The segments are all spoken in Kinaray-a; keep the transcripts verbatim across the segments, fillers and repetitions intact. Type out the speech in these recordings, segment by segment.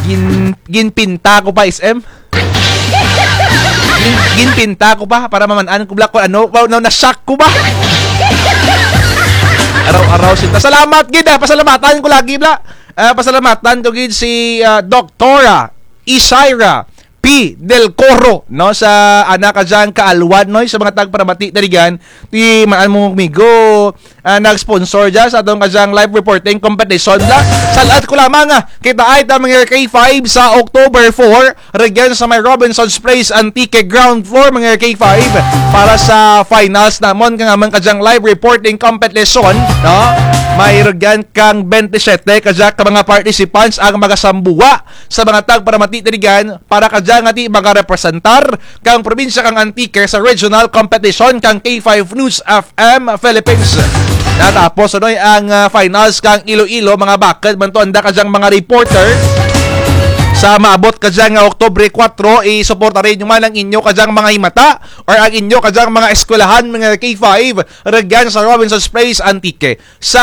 Gin-, ginpinta ko pa, S M. Gin-, ginpinta ko pa para maman-an ko bala kon ano, wow, na, na-shock ko ba? Araw-araw sinta. Salamat gid, ah, pasalamatan ko lagi bala. Ah, pasalamatan ko gid si, ah, Doktora Isaira P Del Coro, no, sa ana kadyang kaalwan, no, sa mga tagparamati dya rugyan, ti man-an mo, amigo, ah, nag-sponsor dya sa atun kadyang live reporting competition bala. Sal-ad ko lamang, ah, kitaay ta mga K five sa October four, rugyan sa may Robinson's Place, Antique, ground floor, mga K five, para sa finals namon kang amun kadyang live reporting competition, no? May rugyan kang bente siyete kadya ka mga participants ang magasambuwa sa mga tagparamati dya rugyan para kadya nga ti magarepresentar kang probinsya kang Antique sa regional competition kang K five News F M Philippines. Natapos, ano, ang, ah, finals kang Iloilo, mga baked man to anda kadyang mga reporter. Sa maabot kadya nga Oktubre kuwatro, isuporta run ninyo man ang inyo kadyang mga himata or ang inyo kadyang mga eskwelahan, mga K five, rugyan sa Robinson's Place, Antique. Sa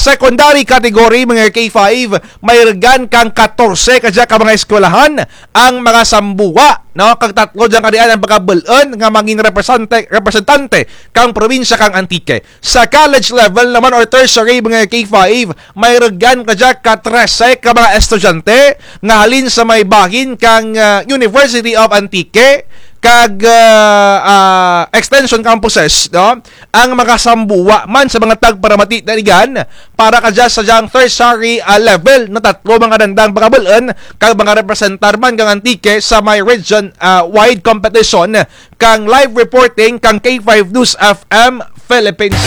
secondary category, mga K five, may rugyan kang katorse kadya ka mga eskwelahan ang magasambuwa, no? Kag tatlo dyan kadian ang pagabul-un nga mangin represente-, representante kang probinsya kang Antique. Sa college level naman or tertiary, mga K five, may rugyan kadya ka trese ka mga estudyante nga halin sa may bahin kang, ah, University of Antique kag, ah, ah, extension campuses, no? Ang magasambuwa man sa mga tagparamati dya rugyan para kadya sa dyang tertiary, ah, level na tatlo mga dandang pagabul-un kag mga representar man kang Antique sa may region, ah, wide competition kang live reporting kang K five News F M Philippines.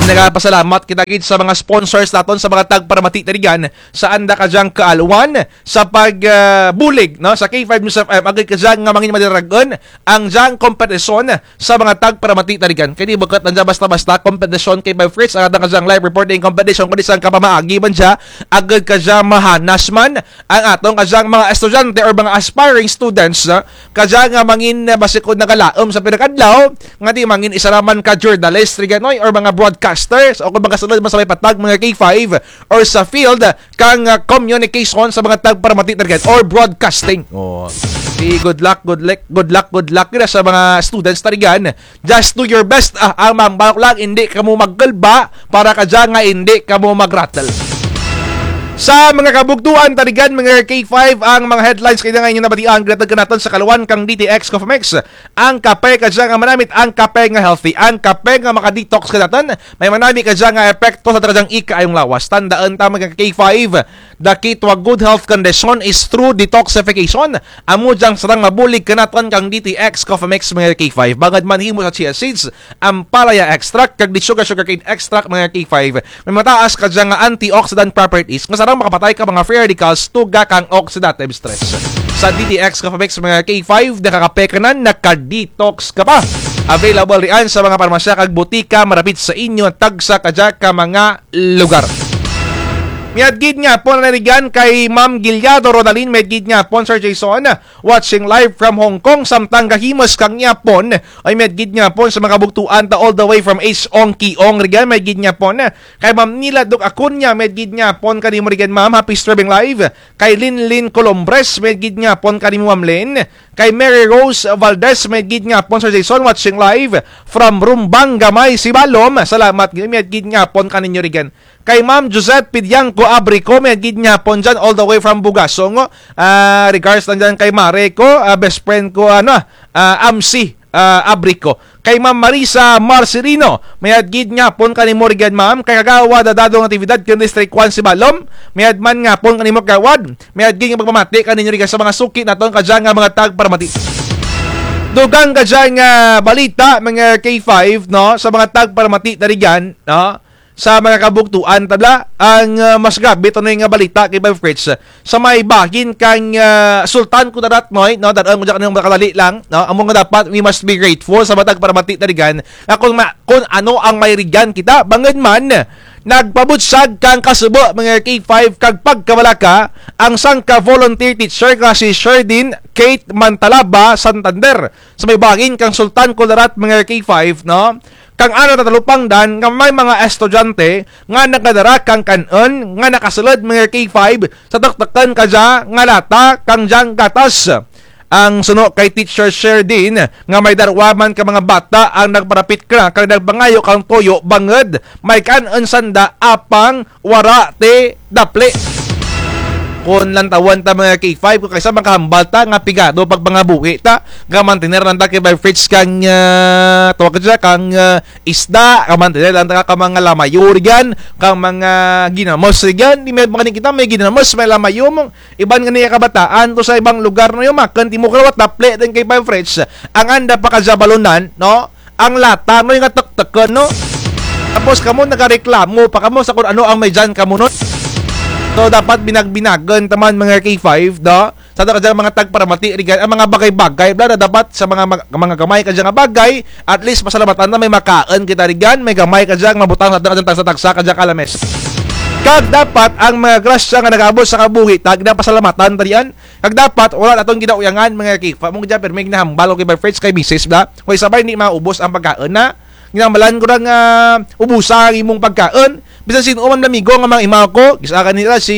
Nagapasalamat kita gid sa mga sponsors natun sa mga tagparamati dya rugyan sa anda kadyang kaalwan sa pag, ah, bulig, no, sa K five News F M, agud kadya nga mangin madarag-un ang dyang kompetisyon sa mga tagparamati dya rugyan. Kay di bukut lang dya basta-basta kompetisyon K five Fritz, ang atun kadyang live reporting competition, kundi sangka pamaagi man dya, agud kadya mahanas man ang atun kadyang mga estudyante or mga aspiring students, no? Kadya nga mangin, ah, basi kon nagalaum sa pira ka adlaw, nga ti mangin isara man ka journalist, rugyan, oy, or mga broadcasters, o kon makasulud man sa may patag, mga K five, or sa field, kang, ah, communication sa mga tagparamati dya rugyan or broadcasting. Oh. Di good luck, good luck, good luck, good luck gid sa mga students dya rugyan. Just do your best, ah, ang mangbalak lang, indi kamo magkulba para kadya nga indi kamo magrattle. Sa mga kabugtuan dya rugyan, mga K five, ang mga headlines kay nga inyo nabatian, ginhatag kanatun sa kaalwan kang D T X Coffee Mix. Ang kape kadya nga manamit, ang kape nga healthy, ang kape nga maka-detox kanatun, may manami kadya nga epekto sa atun kadyang ikaayong lawas. Tandaun ta, mga K five, the key to a good health condition is through detoxification. Amo dyang sarang mabulig kanatun kang D T X Coffee Mix, mga K five. Bangud man himo sa chia seeds, ampalaya extract, kag di sugar, sugarcane extract, mga K five. May mataas kadya nga antioxidant properties nga sarang makapatay ka mga free radicals, tuga kang oxidative stress. Sa D T X Coffee Mix, mga K five, nakakape ka na, naka-detox ka pa. Available riyan sa mga parmasya kag butika marapit sa inyo, tagsa kadya ka mga lugar. Mayad gid nga hapon rugyan kay Ma'am Giliado Rodalin, mayad gid nga hapon, Sir Jason, watching live from Hong Kong, samtang gahimus kang gihapon. Ay, mayad gid nga hapon sa mga kabugtuan ta all the way from H Ong Kiong rugyan, mayad gid nga hapon. Kay Ma'am Nila Duc Acuña, mayad gid nga hapon kanimo rugyan, ma'am, happy streaming live. Kay Linlin Colombres, mayad gid nga hapon kanimo, Ma'am Lin. Kay Mary Rose Valdez, mayad gid nga hapon, Sir Jason, watching live from Rumbang Gamay, Sibalom. Salamat gid, mayad gid nga hapon kaninyo rugyan. Kay Ma'am Josette Pidiangco Abrico, mayad gid nga hapon dyan, all the way from Bugasong. Ah, regards lang dyan kay mare ko, ah, best friend ko, ano, ah, Amsi, ah, Abrico. Kay Ma'am Marisa Marcelino, mayad gid nga hapon kanimo rugyan, ma'am. Kay Kagawad Dadong Natividad, kang District one, Sibalom, mayad man nga hapon kanimo, Kagawad. Mayad gid nga pagpamati kaninyo rugyan sa mga suki natun kadya nga mga tagparamati. Dugang kadya nga balita, mga K five, no, sa mga tagparamati dya rugyan, no? Sa mga kabugtuan ta bala, ang, ah, mas grabe to na nga balita kay Bay Fritz. Sa may bahin kang, ah, Sultan Kudarat, no, no, dad-on ko dyan kanimo makadali lang, no, amo nga dapat we must be grateful sa mga tagparamati dya rugyan, nga kon ma-, kon ano ang may rugyan kita, bangud man, nagpabutyag kang kasubo, mga K five, kag pagkabalaka, ang sangka volunteer teacher nga si Sherdin Kate Mantalaba, Santander. Sa may bahin kang Sultan Kudarat, mga K five, no? Kang ana tatalupangdan nga may mga estudyante nga nagadara kang kan-un nga nakasulud, mga K five, sa tuktukun kadya nga lata kang dyang gatas. Ang suno kay Teacher Sherdin nga may darwa man ka mga bata ang nagparapit kara kag nagpangayo kang tuyo bangud may kan-un sanda apang wara ti dapli. Kon lantawun ta, mga K five, kon kaysa makahambal ta nga pigado pagpangabuhi ta, nga mantener lang ta, K five Fritz, kang, ah, tawag ka dya, kang, ah, isda, nga mantener lang ta ka mga lamayo rugyan, kang mga ginamos rugyan, ti may mga kita may ginamos, may lamayo mo, iban ngani kabataan to sa ibang lugar, no, yumakun ti mo kara wara dapli ti, K five Fritz, ang anda pa kadya balunan, no? Ang lata, no, nga tuktukun, no? Tapos kamo nagareklamo pa kamo sa kon ano ang may dyan kamo, no? So, dapat binag-binagun ta man, mga K five, no? Sa kadya mga tagparamati, rugyan, ang mga bagay-bagay, bala, dapat sa mga mag-, mga gamay kadya nga bagay, at least pasalamatan ta may makaun kita rugyan, may gamay kadya nga mabutang sa kadya tagsa-tagsa kadya ka lamis. Kag dapat ang mga grasya nga nagaabot sa kabuhi ta, ginapasalamatan ta rugyan, kag dapat, wara natun ginauyangan, mga K five. Amo kadya pirme ginahambal ko, K five Fritz, kay misis, bala. Kay sabay, indi maubos ang pagkaun na. Ginahambal ko ra nga, ah, ubusa ang imong pagkaun. Bisan sin-o man amigo nga mga imaw ko, gis-a kanira si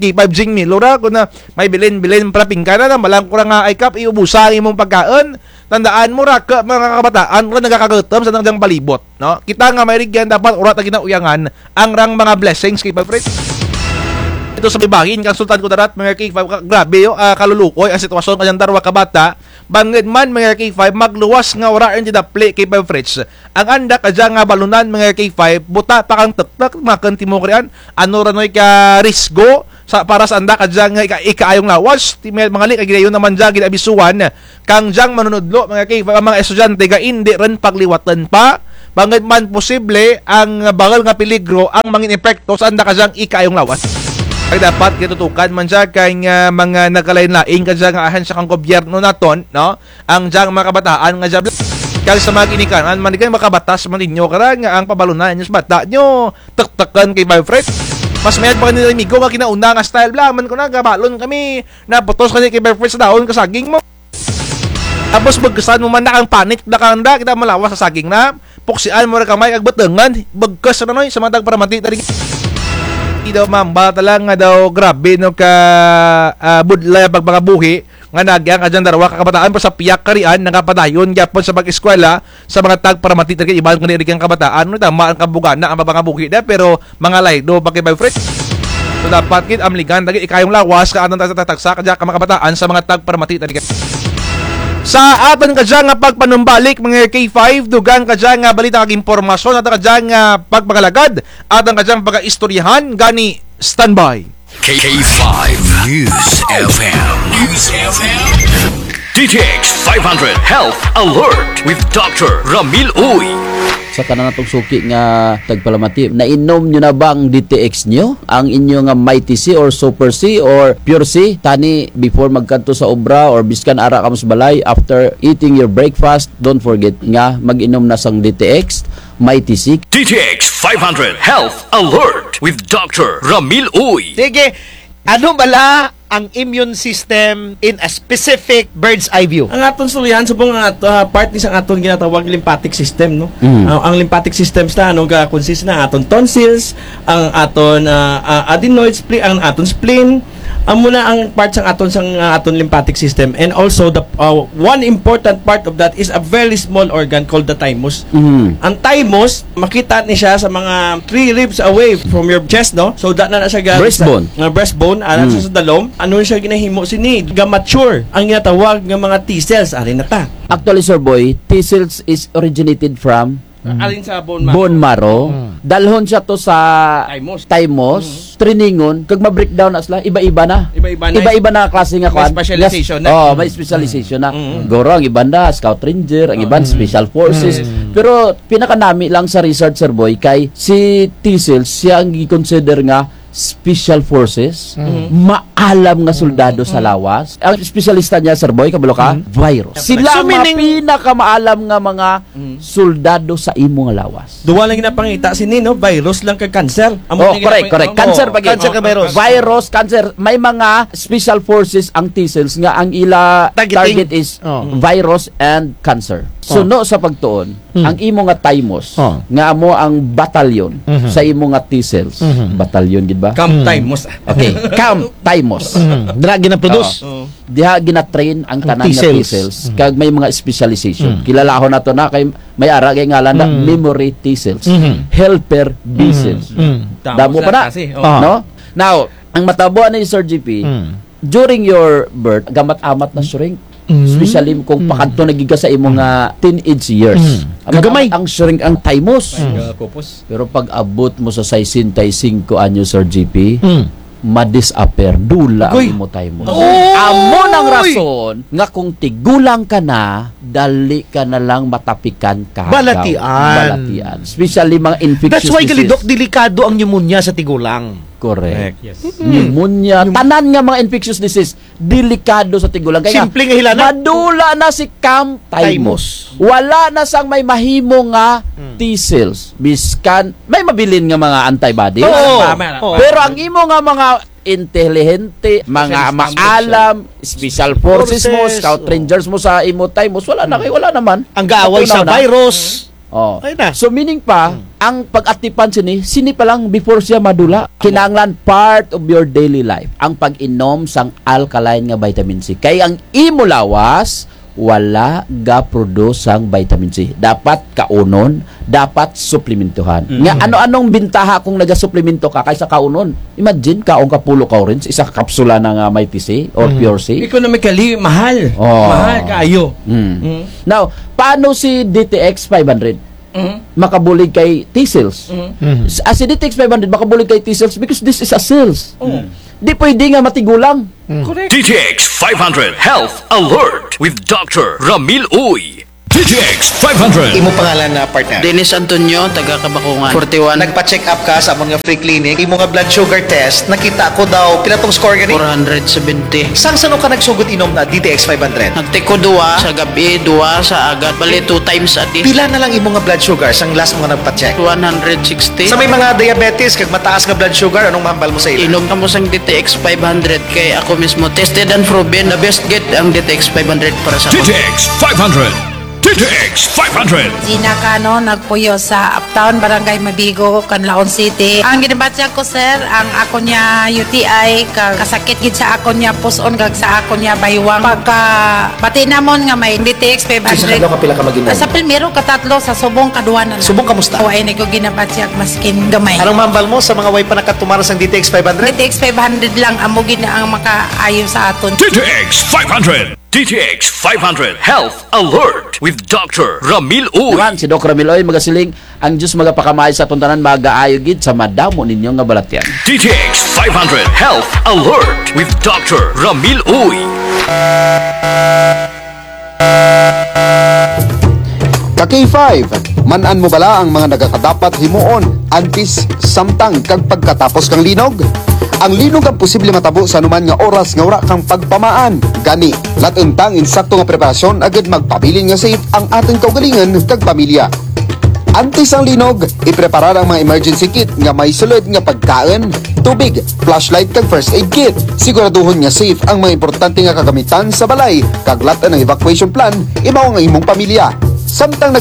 K five Jing Milo ra, kon na may bilin-bilin para pinggan na, hambal ko ra nga, ay Kap, iubusa ang imong pagkaun. Tandaan mo ra, ka, mga kabataan, kon nagakagutom sa nang dyang palibot, no? Kita nga may rugyan, dapat wara ta ginauyangan ang rang mga blessings, K five Fritz. Ito sa may bahin kang Sultan Kudarat, mga K five, ka-, grabe, yo, ah, kaluluoy ang sitwasyon kadya darwa ka bata. Bangud man, mga K five, magluwas nga wara run ti dapli, K five Fritz. Ang anda kadya nga balunan, mga K five, buta pa kang tuktuk, makun ti mo kara run. Ano ra noy ka risgo sa, para sa anda kadya nga ika-, ikaayong lawas, ti may mga li-, kay ginayon na man dya, ginaabisuhan kang dyang manunudlo, mga K five, ang mga estudyante nga indi run pagliwatun pa, bangud man posible ang bahul nga peligro ang mangin epekto sa anda kadyang ikaayong lawas. Kag dapat ginatutukan man dya kang, ah, mga nagkalain-lain kadya nga ahensya kang gobyerno natun, no? Ang dyang mga kabataan nga dya, kag sa mga ginikanan man, mga kabatas man ninyo kara nga ang pabalunan ninyo sa bata ninyo, tuktukun, K five Fritz. Mas mayad pa kanira amigo nga kinauna nga style, bala, man ko na, gabalon kami, naputos kani, K five Fritz, sa dahon ka saging mo. Tapos bugkusan mo man na kang panit, bala, kang anda, kita malawas sa saging na. Puksian mo ra kamay kag butungun, bugkus ra noy, sa mga tagparamati ta rugyan. Ti daw mamba ta lang nga daw grabe, no, ka, ah, budlay ang pagpangabuhi, nga naagian kadya darwa ka kabataan, pero sa piyak karian, nagapadayon gihapon sa pag-eskwela, sa mga tagparamati ta rugyan, iban kani rugyan kabataan, no, tama ang kabugana, ang pagpangabuhi da, pero mga laylo pa, K five Fritz. So, dapat gid amligan ta gid ikaayong lawas kang atun tagsa-tagsa kadya ka mga kabataan sa mga tagparamati ta rugyan. Sa atun kadya nga pagpanumbalik, mga K five, dugang kadya nga balita kag impormasyon, atun kadya nga pagpangalagad, atun kadya nga pagaistoryahan, gani standby. K five News F M. News F M. D T X five hundred Health Alert with Doctor Ramil Uy. Sa tanan natong suki nga tagpalamati, nainom nyo na ba ang D T X nyo? Ang inyo nga Mighty C or Super C or Pure C? Tani, before magkadto sa obra or biskan ara kamo sa balay, after eating your breakfast, don't forget nga mag-inom na sang D T X, Mighty C. D T X five hundred Health Alert with Doctor Ramil Uy. Sige, ano bala ang immune system in a specific bird's eye view? Ang aton istoryahan, subong ang at-, ah, part ni sa aton ginatawag lymphatic system, no? Mm. Ah, ang lymphatic system sa ano, ga-consist na aton tonsils, ang aton, ah, ah, adenoid, spleen, ang aton spleen, amo na ang part sang aton sang, ah, aton lymphatic system. And also the, ah, one important part of that is a very small organ called the thymus. Mm. Ang thymus, makita ni siya sa mga three ribs away from your chest, no? So, da na, na siya ga-, breastbone. Sa, nga breastbone, ana, mm, sa, sa dalom. Ano siya ginahimo sini? Ga-mature ang ginatawag nga mga T cells. Ari na ta. Actually, Sir Boy, T cells is originated from, mm, alin sa bone marrow? Bone marrow. Mm. Dalhon siya to sa thymus. Thymus. Mm. Trainingon, kag ma-breakdown na sila, iba-iba na. Iba-iba na. Iba-iba na klase nga kwan. May specialization na. Oh, may specialization na. Mm. Guro, ang iban na, scout ranger, ang iban, mm, special forces. Mm. Pero, pinakanami lang sa research, Sir Boy, kay si T cells, siya ang gi-consider nga special forces, mm, maalam nga soldado sa lawas. Ang espesyalista niya, Sir Boy, kabalo ka, mm, virus. Sila ang mga pinakamaalam nga mga, mm, soldado sa imo nga lawas. Duwa lang ginapangita sini, no? Virus lang kag cancer. Amo ni correct, correct. Cancer pa gid. Cancer kag virus. Virus, cancer. May mga special forces ang T cells nga ang ila target is virus and cancer. Suno sa pagtuon, ang imo nga Tymos, nga amo ang batalyon sa imo nga T-cells. Batalyon gid ba? Camp Tymos. Okay, Camp Tymos. Dira gina-produce. Diha gina-train ang tanan nga T-cells. Kag may mga specialization. Kilalahon nato na kay may ara kay ngalan na memory T-cells, helper B-cells. Damo pa na. No? Now, ang matabo ni Sir G P, during your birth, gamat-amat na shrink. Especially kung pakadto na gid ka sa imo nga teenage years. Gagamay. Ang shrink ang Tymos. Pero pag abot mo sa sesenta y cinco anyo, Sir G P, ma-disappear, dula ang imo Tymos. Amo nang rason nga kung tigulang ka na, dali ka na lang matapikan ka. Balatian. Balatian. Especially mga infectious disease. That's why gali, Doc, delikado ang pneumonia sa tigulang. Correct. Pneumonia, tanan nga mga infectious disease, delikado sa tigulang. Kaya simple nga hilanat. Madula na si Camp Tymos. Wala na sang may mahimo nga T-cells. Biskan, may mabilin nga mga antibody. Oo. Pero ang imo nga mga intelihente, mga maalam, special forces mo, scout rangers mo sa imo Tymos, wala na kay, wala naman. Ang gaaway sa virus. Oh. So meaning pa, ang pag-atipan sini, sini pa lang before siya madula. Kinahanglan part of your daily life ang pag-inom sang alkaline nga vitamin C. Kay ang imo lawas, wala ga-produce sang vitamin C. Dapat kaunon, dapat suplementohan. Nga ano-anong bintaha kung nagasuplemento ka kaysa kaunon? Imagine, kaon ka pulo ka orange, isa ka kapsula na nga may T C or Pure C. Economically, mahal. Oh. Mahal kaayo. Now, paano si D T X five hundred? Makabulig kay T-cells. S-, ah, si D T X five hundred makabulig kay T-cells because this is a cells. Di pwede nga matigulang. Correct. D T X five hundred Health Alert with Doctor Ramil Uy. D T X five hundred. Imo pangalan na, partner? Dennis Antonio, taga Kabakungan. Forty-one. Nagpa-check up ka sa amon nga free clinic. Imo nga blood sugar test, nakita ko daw, pila tong score gani? Four hundred seventy. Sang san-o ka nagsugod inom na D T X five hundred? Nagtake ko duwa sa gab-i, duwa sa agad. Bali, two times a day. Pila na lang imo nga blood sugar sang last mo nga nagpa-check? One hundred sixty. Sa may mga diabetes kag mataas nga blood sugar, anong mahambal mo sa ila? Inom kamo sang D T X five hundred kay ako mismo tested and proven. The best gid ang D T X five hundred para sa akon. D T X five hundred. D T X five hundred. Gina Cano, nagpuyo sa Uptown, Barangay Mabigo, Canlaon City. Ang ginabatyag ko, sir, ang akon nga U T I, ka-, kasakit gid sa akon nga pus-on, kag sa akon nga baywang. Pagkabati namon nga may D T X five hundred. Sa kadlaw kapila ka mag-inom? Sa primero, katatlo, sa subong, kaduwa na lang. Subong, kamusta? Wa na ko ginabatyag, maskin gamay. Anong mahambal mo sa mga way pa nakatumar sang D T X five hundred? D T X five hundred lang, amo gid na ang makaayo sa aton. D T X five hundred. D T X five hundred Health Alert with Doctor Ramil Uy. Naman, si Doc Ramil Uy, magasiling, ang Diyos magapakamaayo sa aton tanan, magaayo gid sa madamo ninyo nga balatyan. D T X five hundred Health Alert with Doctor Ramil Uy. Ka K five, man-an mo bala ang mga nagakadapat himuon antes, samtang, kag pagkatapos kang linog? Ang linog ang posible matabo sa anuman nga oras nga wara kang pagpamaan. Gani, lat-en ta ang insakto nga preparasyon agud magpabilin nga safe ang atun kaugalingon kag pamilya. Antes ang linog, ipreparar ang mga emergency kit nga may sulud nga pagkaun, tubig, flashlight kag first aid kit. Siguraduhon nga safe ang mga importante nga kagamitan sa balay, kag lat-en ang evacuation plan, imaw ang imong pamilya. Samtang